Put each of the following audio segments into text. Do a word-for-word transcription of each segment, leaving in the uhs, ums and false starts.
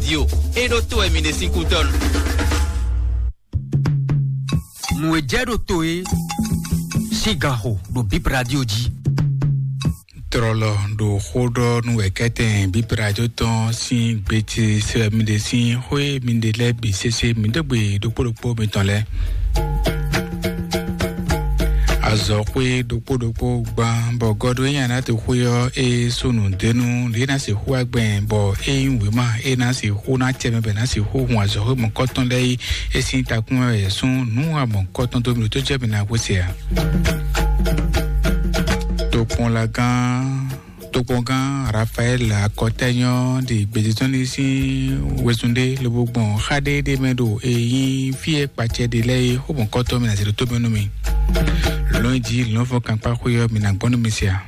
Yo, é ɖó tó wɛ mi ɖe sín kútɔ́nu. Nǔ e jɛ ɖo to é sín ganxo ɖo Bip Radio jí. Trɔlɔ ɖo xó ɖɔ nú wɛ̌kɛ́tɛn Bip Radio tɔn sín gbeti sɛmide sín xwé mide lɛ́ɛ bǐ sésé mi dó gbe ɖokpó ɖokpó mitɔn lɛ́ɛ. Azɔ̌xwé ɖokpó ɖokpó gban bɔ gɔ́ɖó nyi aná to xwé ɔ́, é sú nǔ dó nú lě ná sixú wá gbɛn bɔ é nyí wěma é ná sixú ná cɛ mɛ bɔ é ná sixú hun azɔ̌xwé mɔ̌kɔtɔn lɛ́ɛ yí. É sín takún mɛ wɛ yě sún nǔ amɔ̌kɔtɔn dó mi ɖo tó jɛ mi ná xwé se ǎ. Tokpɔnlagán tokpɔngán Rafael Akɔtɛnyɔ ɖi gbeditɔ́ni sín wezun ɖé lobo gbɔn xá ɖé ɖé mɛ ɖo e nyí fí e kpacɛ ɖe lɛ́ɛ é xó mɔ̌kɔtɔn mi ná zé ɖó tó mɛ nú mi. Lɔ̌nyijǐ lɔ̌nfɔ́n kankpá xwé ɔ́ mi ná gbɔn nú mi sia.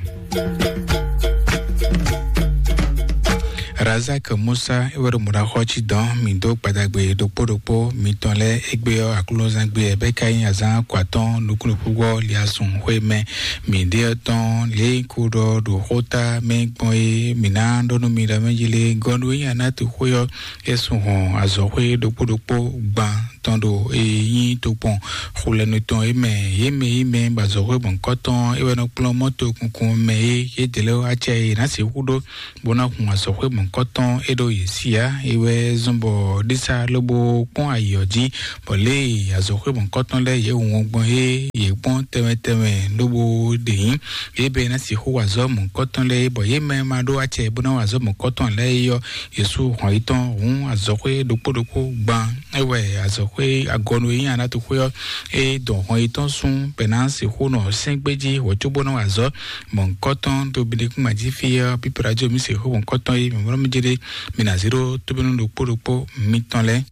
Razak Musa é wɛ ɖo mɔ̌ɖaxɔ cí dɔn mǐ dó gbadagbe ɖokpó ɖokpó mitɔn lɛ́ɛ égbé ɔ́ aklúnɔzán gbé ɛ bɛ́ ka nyí azán kɔ atɔ́ɔ́n nukúnnukúngbɔ liasun xwé mɛ mǐ ɖe ɔ́ tɔn lě kó ɖɔ ɖo xóta mɛ gbɔn é mǐ ná ɖɔ nú mi ɖɔ mɛ jí lé gɔ́ nú é nyí aná tu xwé ɔ́ é sun hɔn azɔ̌xwé ɖokpó ɖokpó gban tɔn ɖo e nyí tokpɔn xulɛnu tɔn é mɛ yě mɛ yí mɛ bɔ azɔ̌xwé mɔ̌kɔtɔn é wɛ nɔ kplɔ́n mɔ́to kunkun mɛ é yě dě lɛ́ɛ wá acɛ e ná sixú ɖó bó ná hun azɔ̌xwé mɔ̌kɔtɔn é ɖo yě sí ǎ. É wɛ zɔ́n bɔ ɖísá lobo kpɔ́n ayǐ ɔ́ jí bɔ lě e azɔ̌xwé mɔ̌kɔtɔn lɛ́ɛ yě hun ɔ́ gbɔn é yě kpɔ́n tɛnmɛ tɛnmɛ lobo ɖe nyí é bɛ ná sixú wa azɔ̌ mɔ̌kɔtɔn lɛ́ɛ é bɔ yě mɛ ma ɖó acɛ bó ná wa azɔ̌ mɔ̌kɔtɔn lɛ́ɛ é ɔ́, Yesu hɔn yi tɔn hǔn azɔ̌xwé ɖokpó ɖokpó gban é wɛ azɔ̌xwé agɔnu e nyí anatoxwé ɔ́ é dɔn hɔn yi tɔn sún bɛ ná sixú nɔ sɛ́ngbéjí wǒ cóbó ná wa azɔ̌ mɔ̌kɔtɔn dó binekúngbà jí fí ɔ́ pípéra jó mi sixú mɔ̌kɔtɔn é mi mlɔ́ mi jé ɖé mi ná zé ɖó tóbínú ɖokpó ɖokpó mitɔn lɛ́ɛ.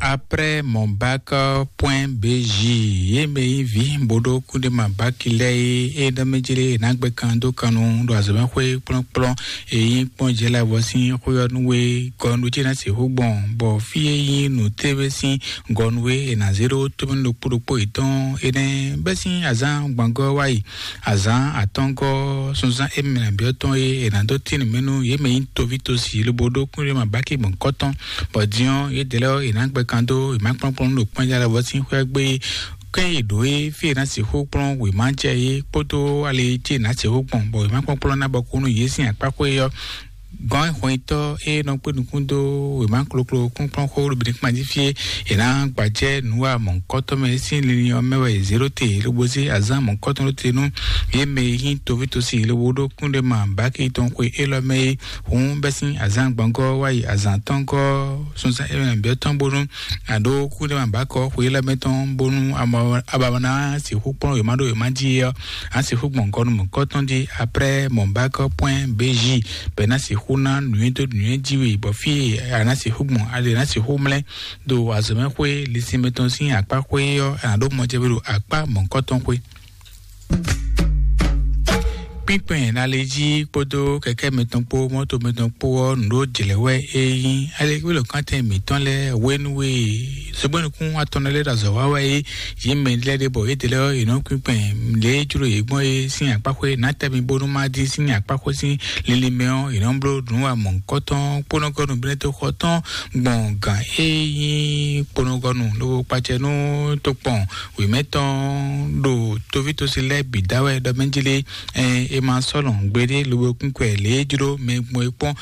Après mon bac point B J, yé mɛ yí vi boɖo kúndéma baki lɛ yé é ɖɔ mɛ jélé ná gbɛ kan dó kanu ɖo azɔmɛxwé kplɔ́nkplɔ́n èyí kpɔ́n jɛ lɛ vɔ sín xwé ɔ́ nú we gɔnu jí ná sixú gbɔn bɔ fí e nyí nǔ tévé sín gɔnu e è nǎ zé ɖó tómɛnu ɖokpó ɖokpó yětɔn énɛ́ bɛ́ sín azán gbɔngɔ́ wá yi azǎn atɔ́ngɔ́ sunzán émí mɛ nǎ byɔ́ tɔn e è nǎ dó tín nǔ mɛ nú yě mɛ nyí toví tosi lobo ɖó kúnɖéma bákí gbɔn kɔ́tɔn, bɔ din ɔ́ yě dě lɛ́ɛ ɔ́ è nǎ gbɛ kan dó è má kplɔ́nkplɔ́n nú ɖo kpɔ́njá lɛ́ɛ vɔ sín xwé gbé kɛ́n yě ɖǒ é fí è nǎ sixú kplɔ́n wěma jɛ é kpódó ali e cí è nǎ sixú gbɔn bɔ è má kplɔ́nkplɔ́n ná bɔ kú nú yě sín akpáxwé ɔ́ gɔn hwɛntɔ e nɔ kpé nukún dó wěma kloklo kúnkplɔ́n xó ɖo bǐ kpán jí fí é è nǎ gbajɛ nǔ wa mɔ̌kɔtɔ́ mɛ sín linlin ɔ́ mɛ wɛ è zě ɖó te lobo zé azán mɔ̌kɔtɔn ɖó te nú yě mɛ e nyí toví tosi lobo ɖó kúnɖéma báki tɔn xwe élɔ́ mɛ é hǔn bɛ́ sín azán gbɔngɔ́ wá yi azán tɔ́ngɔ́ sunzán émɛ byɔ́ tɔn bónú àɖó kúnɖéma bákɔ xwe élɔ́ mɛ tɔn bónú ababa ná sixú kplɔ́n wěma ɖó wěma jí é ɔ́ á sixú gbɔn gɔnu mɔ̌kɔtɔn jí après mɔ̌bákɔ point B J bɛ ná sixú ná nǔnywɛ́ dó nǔnywɛ́ jí we bɔ fí e a ná sixú gbɔn a lè ná sixú mlɛ́ ɖo azɔ̌mɛxwé lisin mɛtɔn sín akpá xwé ɔ́ a nǎ ɖó mɔjɛ́ ɖo akpá mɔ̌kɔtɔn xwé. Kpínkpɛn nalé jí kpódó kɛkɛ́ mɛtɔn kpó mɔ́to mɛtɔn kpó ɔ́ nǔ ɖó jlɛ̌ wɛ é nyí. Alɛkúlɔkantɛn mǐtɔn lɛ́ɛ hwenu e zogbɛ́nukún atɔn lɛ́ɛ ɖo azɔ̌ wa wɛ é yě mɛ lɛ́ɛ ɖe bɔ yě dě lɛ́ɛ ɔ́ yě nɔ kpínkpɛn lě e jló yě gbɔn é sín akpáxwé nǎ tɛ́ mi bónú má dín sín akpáxwé sín linlin mɛ ɔ́ yě nɔ bló nǔ wa mɔ̌hunkɔtɔn kpónɔgɔ́nu bínɛ́ tó xɔ tɔn gbɔn gǎn e nyí kponɔgɔnu lobo kpacɛ nú tokpɔn wěmɛ tɔn ɖo tovítɔ́sí lɛ́ɛ bǐ da wɛ ɖɔ mɛ jí lé. Ɛ, è ma sɔ́ lɔn gbeɖé lobo kún kɔ ɛ lě e jló mɛ gbɔn é kpɔ́n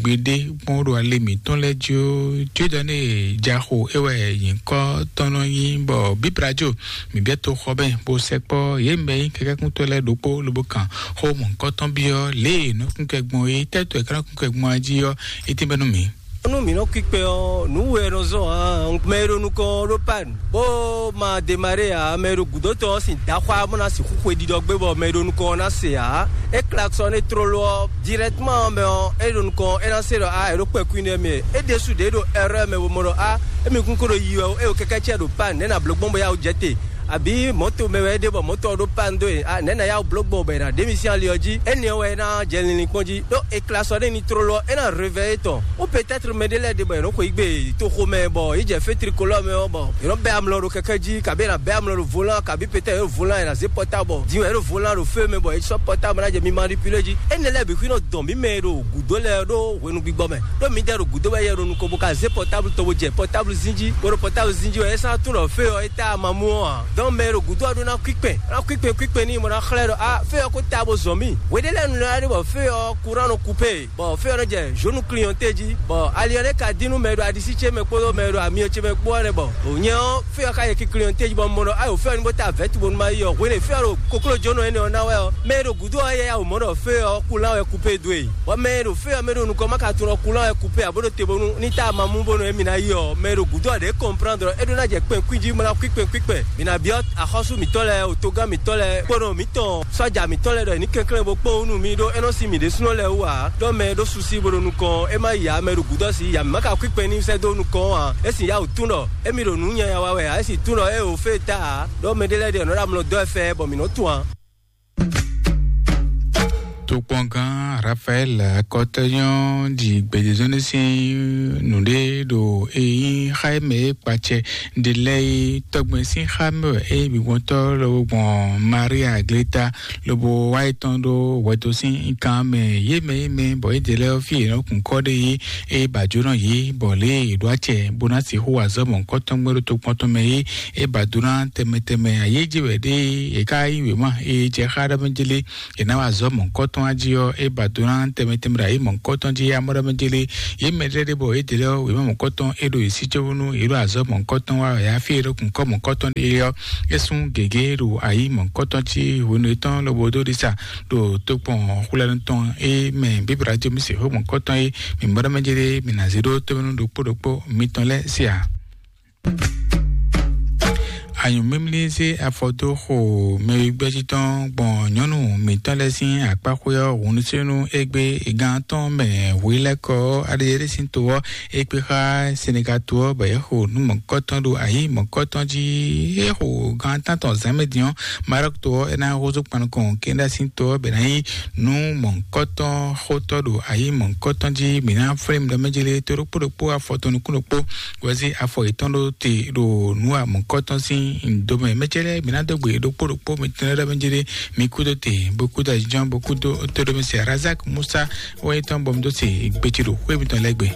gbeɖé kpɔ́n ɖo ali mǐtɔn lɛ́ɛ jí ó. Jɔ́dɔ́n e jaxo é wɛ nyǐkɔ tɔn nɔ nyí bɔ bíbrajo mǐ bɛ́ toxɔ mɛ bó sɛkpɔ́ yě mɛ nyí kɛkɛ́kúntɔ́ lɛ́ɛ ɖokpó lobo kan xó mɔ̌hunkɔtɔn byɔ́ lě e nɔkúnkɛ gbɔn é tɛ́tɔ́ è ká nɔ́ kúnkɛ gbɔn jí ɔ́, é tínbɛ́ nú mǐ. Nú mǐ nɔ kpíkpɛ ɔ́, nǔ we nɔ zɔn ǎ. Mɛ e ɖo nukɔn ɔ́ ɖó pan bó ma demaré ǎ. Mɛ e ɖo gǔdo tɔn ɔ́ sin daxwá bó ná sixú xwe ɖiɖɔ gbé bɔ mɛ e ɖo nukɔn ɔ́ ná se ǎ. É klaksɔ́n é tlóló ɔ́, dirɛkteman ɔ́ mɛ ɔ́, é ɖo nukɔn é ná se ɖɔ á è ɖó kpɛkún nɛ́ mɛ. É ɖésú ɖě ɖo ɛrɛ́ mɛ bó mɔ ɖɔ á émí kún ko ɖo yi wɛ ó, é ɖo kɛkɛ́ cɛ ɖo pan nɛ̌ ná bló gbɔn bó yá wǔ jɛ te. Àbí mɔ̌to mɛ wɛ é ɖe bɔ mɔ̌to ɔ́ ɖó panne dó e? Ah, nɛ̌ ná yá wǔ bló gbɔn bɔ è nǎ ɖe mì sín ali ɔ́ jí? Énɛ́ ɔ́ wɛ é ná jɛ linlin kpɔ́n jí. Ɖó è kla sɔ ɖé ní tlóló ɔ́, é ná réveillé tɔn. Ou peut-être mɛ ɖé lɛ́ɛ ɖe bɔ è nɔ́ xweyǐgbe toxo mɛ bɔ yě jɛ fé tricolore mɛ ɔ́, bɔ è nɔ́ bɛ́ amlɔ ɖo kɛkɛ́ jí, kabi è nǎ bɛ́ amlɔ ɖo volant, kabi peut-être è ɖo volant, è nǎ zé portable bɔ din wɛ è ɖo volant ɖo feu mɛ bɔ è sɔ́ portable ná jɛ mi manipulé jí. Énɛ́ lɛ́ɛ bǐ xwí nɔ dɔn mǐ mɛ e ɖo gǔdo lɛ́ɛ ɖó hwenu gbigbɔ mɛ. Ɖó mǐdɛɛ ɖo gǔdo wɛ yɛ ɖo nukɔn bó ka zé portable tɔn bó jɛ portable zín jí, bó ɖo portable zín jí wɛ é sɔ́ tunɔ fé ɔ́, é tá amamú ɔ́ ǎ. Donc mɛ e ɖo gǔdo ɔ́ ɖó ná kwíkpɛn, ná kwíkpɛn kwíkpɛn n'i bó ná xlɛ́ ɖɔ á fé ɔ́ ko tá bó zɔn mì. Hweɖé lɛ́ɛ nu lɛ́ɛ ɖe bɔ fé ɔ́ kuran nɔ kupé, bɔ fé ɔ́ nɔ jɛ zǒnu clienté jí, bɔ ali ɔ́ nɛ́ ka dín nú mɛ e ɖo aɖisí ce mɛ kpódó mɛ e ɖo amyɔ ce mɛ kpó ɔ́ nɛ bɔ nyɛ ɔ́ fé ɔ́ ka yɛ ki clienté jí bɔ un mɔ ɖɔ ayo fé ɔ́ ní bó tá vɛ̌tu bónú má yi ɔ́. Hwenu e fé ɔ́ ɖo koklójónɔ énɛ́ ɔ́ ná wɛ ɔ́, mɛ e ɖo gǔdo ɔ́ yɛ yá wǒ mɔ ɖɔ fé ɔ́ kulan wɛ kupé dó e. Bɔ mɛ e ɖo fé ɔ́ mɛ ɖo nukɔn má ka tunɔ kulan wɛ kupé ǎ bó ɖo te bónú ní tá amamú bónú émí ná yi ɔ́, mɛ e ɖo gǔdo ɔ́ ɖě kɔnplán ɖɔ é ɖó ná jɛ kpɛn kwín jí bó ná kwí kpɛn kwí kpɛn. Mǐ ná byɔ́ axɔ́sú mǐtɔn lɛ́ɛ, otogán mǐtɔn lɛ́ɛ, kpónɔ mǐtɔn sɔ́ja mǐtɔn lɛ́ɛ ɖɔ è ní kɛnklɛ́n bó kpɔ́n wú nú mì ɖó é nɔ́ sí mǐ ɖésúnɔ lɛ́ɛ wú ǎ. Ɖɔ mɛ e ɖó susi bó ɖo nukɔn é má yi ǎ, mɛ e ɖo gǔdo ɔ́ sí ya mǐ má ka kwí kpɛn ní sɛ́ dó nukɔn ɔ́ ǎ. É sin yá wǔ tún ɖɔ émí ɖo nǔ nyanya wa wɛ ǎ, é sin tún ɖɔ é wǒ fé ta ǎ. Ɖɔ mɛ ɖé lɛ́ɛ ɖe nɔ ɖo amlɔ dɔ́ ɛ fɛ bɔ mǐ nɔ tunwun ǎ. Tokpɔngán Rafael akɔtɔnyɔ ɖi gbɛjɛzɔnlé sín nǔɖé ɖo eyín xá e mɛ e kpacɛ ɖe lɛ́ɛ é tɔgbɛn sín xá mɛ wɛ é bǐ gbɔntɔ́ lɔbɔ gbɔn Maria Gleta lobo wá yi tɔn ɖó hwɛdo sín kan mɛ yé mɛ yé mɛ bɔ é ɖe lɛ́ɛ fí e nɔ kun kɔ ɖe yé é ba jǒnɔ yě bɔ lě e è ɖó acɛ bó ná sixú wa azɔ̌ mɔ̌hunkɔtɔn gbé ɖó tokpɔn tɔn mɛ é é ba dó ná tɛnmɛ tɛnmɛ ayéjé wɛ ɖé é ká yí wěma é jɛ xá ɖɔ mɛ jélé è nǎ wa azɔ̌ mɔ̌hunkɔtɔn á jí ɔ́ é ba dó ná tɛnmɛ tɛnmɛ ɖo ayé mɔ̌hunkɔtɔn jí amɔ́ ɖɔ mɛ jélé yě mɛ ɖé ɖé bɔ é dě lɛ́ wěma mɔ̌hunkɔtɔn é ɖo yě sí cóbónú yě ɖo azɔ̌ mɔ̌hunkɔtɔn wa wɛ yá fí é ɖó kun kɔ́ mɔ̌hunkɔtɔn ɖé ɔ́ é sún gěgé ɖo ayé mɔ̌hunkɔtɔn jí hwenu étɔn lobo dó ɖisa ɖo tokpɔn xwlɛnu tɔn é mɛ bíbí radio mi se xó mɔ̌hunkɔtɔn é mi mɔɖɔmɛjɛ ɖé mi na zé ɖó tómɛnú ɖokpó ɖokpó mitɔn lɛ́ɛ sí a. Anyǔmímlí zé afɔ dó xo mɛwígbɛ́jí tɔn gbɔn nyɔ̌nu mǐtɔn lɛ́ɛ sín akpáxwé ɔ́ hǔnúsínú égbé gán tɔn mɛ hwilɛ́kɔ aɖeyɛɖé sín to ɔ́ é kpé xá Senegal to ɔ́ bɔ é xo nǔ mɔ̌kɔtɔn ɖo ayǐ mɔ̌kɔtɔn jí. É xo gán tántɔn zǎnmɛ din ɔ́, Maroc to ɔ́ é ná húzú kpan nukɔn Kenya sín to ɔ́ bɛ ná nyí nǔ mɔ̌kɔtɔn xótɔ́ ɖo ayǐ mɔ̌kɔtɔn jí. Mǐ ná flín mi ɖɔ mɛ jélé tó ɖokpó ɖokpó afɔ tɔn nukún ɖokpó wɛzí afɔ yětɔn ɖó te ɖo nǔ wa mɔ̌kɔtɔn sín domɛ. Mɛ ce lɛ́ɛ mǐ ná dó gbe ɖokpó ɖokpó mi tɛn lɛ́ɛ ɖɔ mɛ jélé mi kúdó te bó kúdó ajínjɔ́n bó kúdó tóɖómɛsɛ Razak Musa wɛ nyí tɔn bɔ mi dó se gbéci ɖo xwé mitɔn lɛ́ɛ gbe.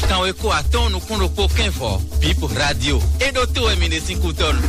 Kanweko atɔ́ɔ́n nukún ɖokpó kɛ́n vɔ̌, Bip Radio. É ɖótó wɛ mi ɖe sín kútɔ́nu.